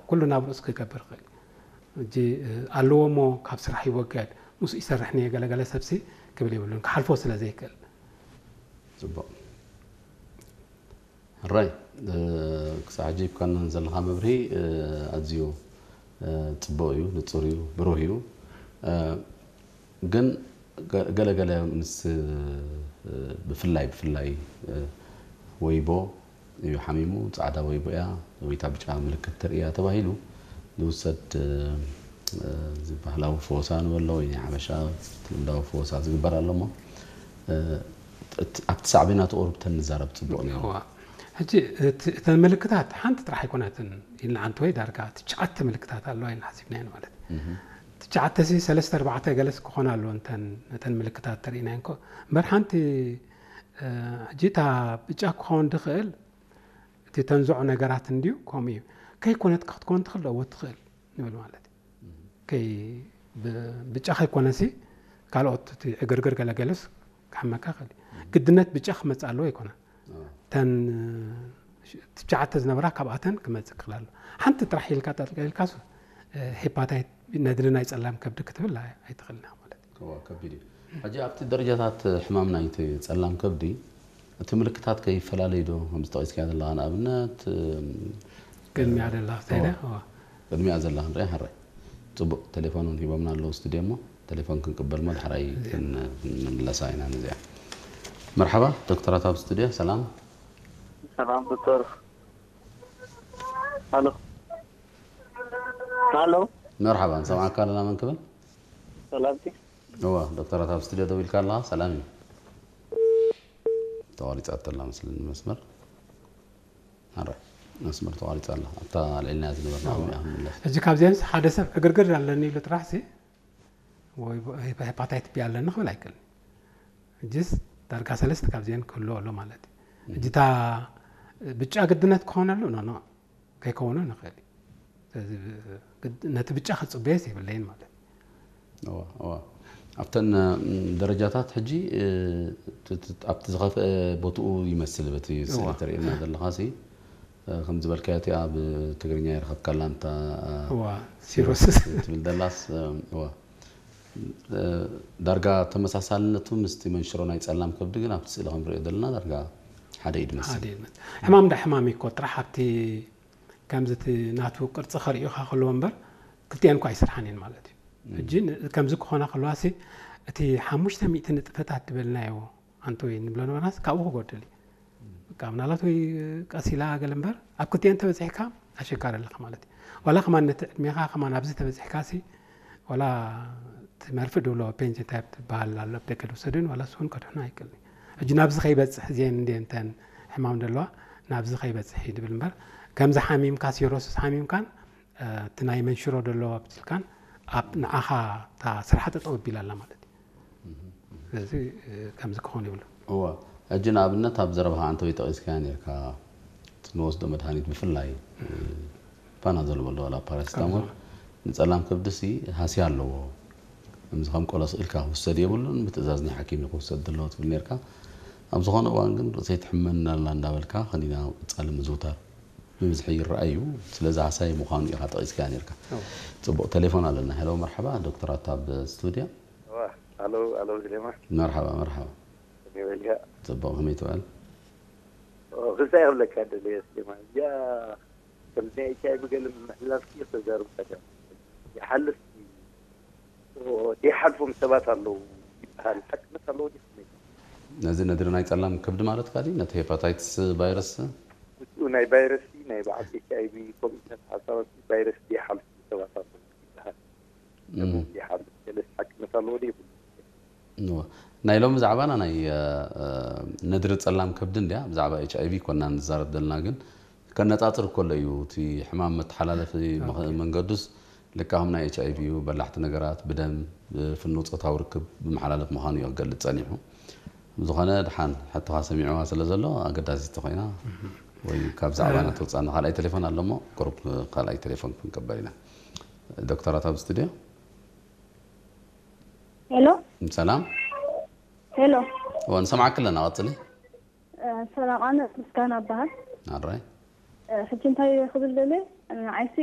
ኩሉ ናብ ርእሱ ክገብር ይኽእል። ሕጂ ኣለዎ እሞ ካብ ስራሕ ይወገድ፣ ምስኡ ይሰርሕ እየ ገለገለ ሰብሲ ክብል የብሉን፣ ክሓልፎ ስለ ዘይክእል። ፅቡቕ። ሕራይ ክሳብ ሕጂ ሂብካና ዘለኻ መብርሂ ኣዝዩ ፅቡቕ እዩ፣ ንፁር እዩ፣ ብሩህ እዩ። ግን ገለገለ ምስ ብፍላይ ብፍላይ ወይቦ እዩ ሓሚሙ፣ ፃዕዳ ወይቦ እያ ወይ እታ ብጫ ምልክት ተርእያ ተባሂሉ ዝውሰድ ባህላዊ ፈወሳ ንበሎ ወይ ናይ ሓበሻ ልምዳዊ ፈወሳ ዝግበር ኣሎ እሞ ኣብቲ ሳዕቤናት ቁሩብ ተንዛረብ ፅቡቕ ነይሩ። ሕጂ እተን ምልክታት ሓንቲ ጥራሕ ኣይኮነትን ኢልና፣ ሓንቲ ወይ ዳርጋ ትሽዓተ ምልክታት ኣለዋ ኢልና ሓሲብናየን ማለት እዩ። ትሽዓተ ሲ ሰለስተ ኣርባዕተ ገለስ ክኾና ኣለዎ እንተን ነተን ምልክታት ተርእናየን ኮ እምበር ሓንቲ ሕጂ እታ ብጫ ክኸውን ድኽእል እቲ ተንዝዖ ነገራት እንድዩ ከምኡ እዩ። ከይኮነት ክትኮን ትኽእል ዶ ትኽእል ንብል ማለት እዩ። ከይ ብጫ ከይኮነሲ ካልኦት እቲ ዕግርግር ገለገለስ ክሕመካ ይኽእል እዩ። ግድነት ብጫ ክመፅእ ኣለዎ ኣይኮነን። ተን ትሽዓተ ዝነበራ ካብኣተን ክመፅእ ክኽእል ኣሎ። ሓንቲ ጥራሕ ኢልካ ጠልቀልካስ ሄፓታይት ነድሪ ናይ ፀላም ከብዲ ክትብል ኣይትኽእልና ማለት እዩ። ከቢድ እዩ። ሕጂ ኣብቲ ደረጃታት ሕማም ናይቲ ፀላም ከብዲ እቲ ምልክታት ከይፈላለዩ ዶ ከምዚ ጠቒስካዮ ዘለኻ ንኣብነት ቅድሚያ ደላ ክሳይዳ ቅድሚያ ዘላ ክንሪኣ ሕራይ። ፅቡቕ ቴሌፎን እውን ሂቦምና ኣለዉ ስቱድዮ እሞ ቴሌፎን ክንቅበል እሞ ዳሕራይ ክንምለሳ ኢና ነዚኣ። መርሓባ ዶክተራት ኣብ ስቱድዮ ሰላም። ሰላም ዶክተር። ሃሎ ሃሎ መርሓባ ንሰምዓካ ኣለና መን ክብል? ሰላምቲ እዋ ዶክተራት ኣብ ስቱድዮ ደው ኢልካ ኣለኻ ሰላም እዩ። ተቋሪፃ ተላ መስለኒ መስመር። ኣረ መስመር ተቋሪፃ ኣላ ኣብታ ልዕልና ዝነበርና ዓሚያ ክንምለስ። ሕጂ ካብዚኣንስ ሓደ ሰብ ዕግርግር ኣለኒ ኢሉ ጥራሕ ሲ ወይ ሄፓታይት ቢ ኣለኒ ክብል ኣይክእልን። ሕጂስ ዳርጋ ሰለስተ ካብዚአን ክህልዎ ኣሎ ማለት እዩ። ሕጂ እታ ብጫ ግድነት ክኾነሉ ኖ ኖ ከይከውኑ ንኽእል እዩ። ስለዚ ነቲ ብጫ ክፅበየስ የብለይን ማለት እዩ። ኣብተን ደረጃታት ሕጂ ኣብቲ ዝኸፍአ ቦትኡ ይመስል በቲ ስእሊ ተርእየና ዘለኻ ሲ ከም ዝበልካዮ እቲኣ ብትግርኛ ይረኸብካላ እንታ ሲሮስስ ትብል ዘላስ ዳርጋ ተመሳሳልነቱ ምስቲ መንሽሮ ናይ ፀላም ከብዲ ግን ኣብቲ ስእሊ ከም ንሪኦ ዘለና ዳርጋ ሓደ እዩ ዝመስል። ሕማም እንዳ ሕማም እዩ እኮ ጥራሕ ኣብቲ ከምዚ እቲ ናቱ ቅርፂ ከርእዩኻ ከለዎ እምበር ክልቲአን እኳ ኣይስርሓን እየን ማለት እዩ። ሕጂ ከምዚ ክኾና ከለዋ ሲ እቲ ሓሙሽተ ሚእቲ ንጥፈታት ዝበልናዮ ኣንተ ወይ ንብሎ ነበርናስ ካብኡ ክጎድል እዩ። በቃ ምናልባት ወይ ቀስ ኢላ ገለ እምበር ኣብ ክልቲአን ተበፂሕካ ኣሸጋሪ ኣለኻ ማለት እዩ። ዋላ ከማን ነቲ ዕድሜኻ ከማን ኣብዚ ተበፂሕካ ሲ ዋላ እቲ መርፍእ ድብሎ ፔንጅን ታይፕ ትበሃል ኣሎ ኣብ ደገ ድውሰድን ዋላ እሱ እውን ከድሕኖ ኣይክእልን እዩ። ሕጂ ናብዚ ከይበፅሕ እዚአን እንድየን እተን ሕማም ደለዋ ናብዚ ከይበፅሕ እዩ ድብል እምበር ከምዚ ሓሚምካ ሲሮስስ ሓሚምካን እቲ ናይ መንሽሮ ደለዎ ኣብትልካን ኣብ ንዓኻ እታ ስራሕ ጠጠው ኣቢላ ኣላ ማለት እዩ። ስለዚ ከምዚ ክኾን ይብሉ። እወ ሕጂ ንኣብነት ኣብ ዘረባኻ ኣንተ ወይ ጠቒስካያ ነርካ እቲ ንወስዶ መድሃኒት ብፍላይ ፓናዞል በሎ ዋላ ፓራሲታሞል ንጸላም ከብድሲ ሃስያ ኣለዎ። ከምዚ ከም ቆሎ ስኢልካ ክውሰድ የብሉን፣ ብትእዛዝ ናይ ሓኪም እዩ ክውሰድ ዘለዎ ትብል ነርካ። ኣብ ዝኾነ እዋን ግን ርእሰይ ትሕመኒ ኣላ እንዳበልካ ከኒና ቀጻሊ ምዝውታር ብብዝሒ ይረኣይ እዩ። ስለዚ ሃሳይ ምዃኑ ኢኻ ጠቒስካያ ነርካ። ጽቡቕ ቴሌፎን ኣለና። ሄሎ መርሓባ ዶክተር ኣታ ኣብ ስቱድዮ። ኣሎ ኣሎ ዝሌማ መርሓባ መርሓባ። ከመይ በልካ? ጽቡቕ ከመይ ትውዕል? ክልታይ ክብለካ ደለየ ስሌማ እዚኣ ከምዚ ናይ ኤች ኣይ ቪ ገለ ምምሕልላፍ ክተዛርብ ቀደም ይሓልፍ ይሓልፎም ሰባት ኣለዉ ይበሃል ሓቅነት ኣለዎ ድዩ ከመይ? ነዚ ነድሪ ናይ ጸላም ከብዲ ማለትካ ድዩ? ነቲ ሄፓታይትስ ቫይረስ? ምስኡ ናይ ቫይረስ ናይ በዓል ኤች ኣይ ቪ ኮሚሽነር ሓሳባት ቫይረስ ይሓልፉ ሰባት ኣለዉ ይበሃል። ይሓልፍ ገለስ ሓቅነት ኣለዎ ድዩ የብሉን? እወ። ናይ ሎሚ ዛዕባና ናይ ነድሪ ጸላም ከብዲ እንድያ። ብዛዕባ ኤች ኣይ ቪ ኮና ንዛረብ ዘለና ግን ከነጻጽር ከሎ እዩ እቲ ሕማም መተሓላለፊ መንገዱስ ልካ ከም ናይ ኤች ኣይ ቪ እዩ። በላሕቲ ነገራት ብደም ብፍኑው ጾታዊ ርክብ ብመሓላለፍ ምዃኑ እዩ ክገልጽ ጸኒሑ። ብዝኾነ ድሓን ሕቶኻ ሰሚዕዋ ስለ ዘሎ ኣገዳሲት ተኾይና ወይ ካብ ዛዕባና ተውጻና ካልኣይ ቴሌፎን ኣሎ እሞ ቁሩብ ካልኣይ ቴሌፎን ክንቀበል ኢና። ዶክተራት ኣብ ስቱድዮ ሄሎ ሰላም ሄሎ እወ ንሰምዓኪ ኣለና ቀጽሊ ሰላም ኣነ ምስጋና እበሃል ኣራይ ሕጂ እንታይ ክብል ደለ ንዓይሲ